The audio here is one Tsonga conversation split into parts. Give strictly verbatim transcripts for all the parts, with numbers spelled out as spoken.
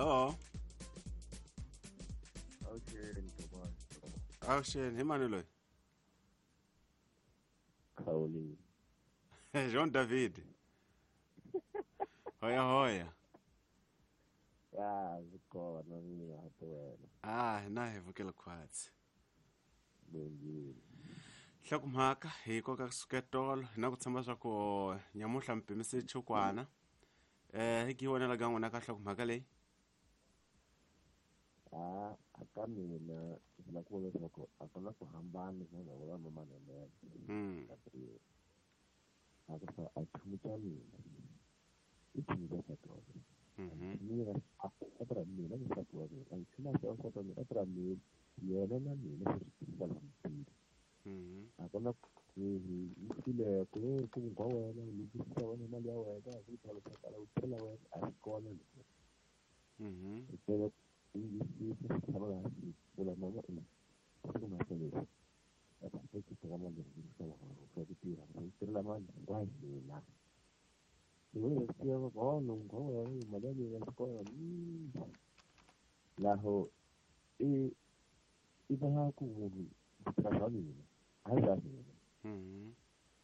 Hello. Okay, Ntokozo. Avuxeni, hi mani loyi? Khawuli. Jean David. Hoya hoya. Ya, swi kona mina ha wena. Ah, na hi vukela khwatsi. Bongile. Nhlokomhaka hi koka kusuka tolo hi na ku tshemba swa ku nyamuhla mi pimise chukwana. Eh, hi ki vonela ka n'wina ka nhlokomhaka leyi? Ah, aka mina ndzi lava ku vula leswaku a ku na ku hambana na ndhavuko wa manene. Mm. A ku sa a chumu xa mina. I chumu xa nsati wa mina. Mhm. Mina a tirha mina ni nsati wa mina. A chumu xa nsati wa mina a tirha mina yena na mina swi ri tirhisa la. Mhm. A ku na ku file ku ku ngwa wena u lukisa wena mali ya wena ku tala tala u tirhela wena a swi kona leswi. Mhm. I tele i swi tshama laha vula mama i siku maseleni a ta ku teka mali leyi swa swa ku tirha ku tirhela mali hinkwayo hina. Hi vona leswi ya va no ngwa wena mali ya mina swi kona. Laho i i va ku munhu tirha swa mina a hi swa mina. Mhm.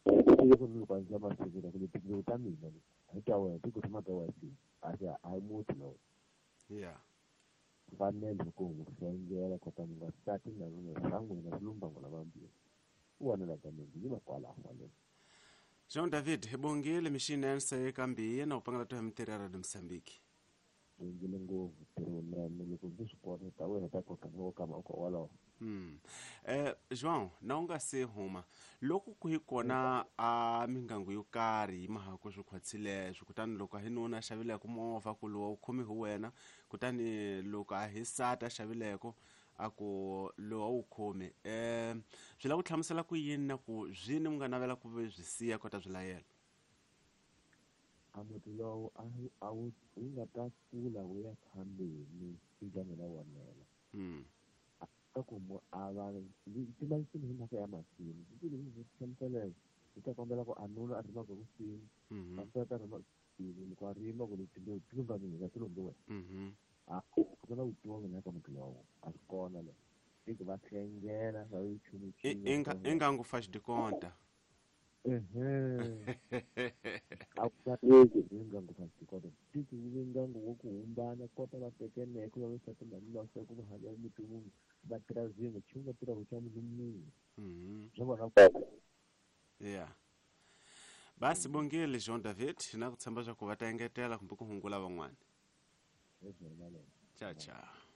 I ku ni loko ndzi masiku la ku leti ta mina a hi ta wena ti ku tshama ka wena a hi a hi muti lowu. Yeah. Fanele ku n'wi hlengela kota mi nga sati na n'wina swa n'wina swi lumba n'wina vambirhi. U vonela ka mina yi va kwalaho kwale. Jean David, hi bongile mixini se kambi na u pangela to hi mintirho ya Radio Mozambique. Bongile ngopfu ntirho wunene loko ndzi swi kota ta wena ta koka no kama ko wolowo. Mm. Eh João, na u nga se huma loko ku hi kona a mingangu yo karhi yi mahaku swi khwatsile swi kutani loko a hi nuna a xavileko movha ku lowa wu khomi hi wena kutani loko a hi sati a xavileko a ku lowa wu khomi eh swi lava ku hlamusela ku yini na ku zwini mi nga navela ku byi siya kota byi layela? A muti lowu a a wu wu nga ta kula wu ya phambili ndyangu na wonela. Mm. Ka ku mu a va tiva nsimu hi mhaka ya masimu ndzi ndzi hlamusela hi ta kombela ku a nuna a rimaka ku nsimu Mhm. a sata a rima loko a rima ku leti timbewu ti lumba mina ti lumbi wena. Mhm. A ku na vutivi mina ka muti lowu a swi kona le i ku va hlengela va yi chumu I inga ingangu faz de conta. Ehe. A ku ta ingangu faz de conta. Tiki ingangu wo ku humbana kota va tekeneke va sati na nuna swa ku va hanya muti wun'we va tirha zin'we chumu va tirha ku xa munhu munhu. Mhm. Swa vona. Yeah. Basi bongile Jean David na ku tshemba swa ku va ta engetela kumbe ku hungula van'wana. Ciao ciao.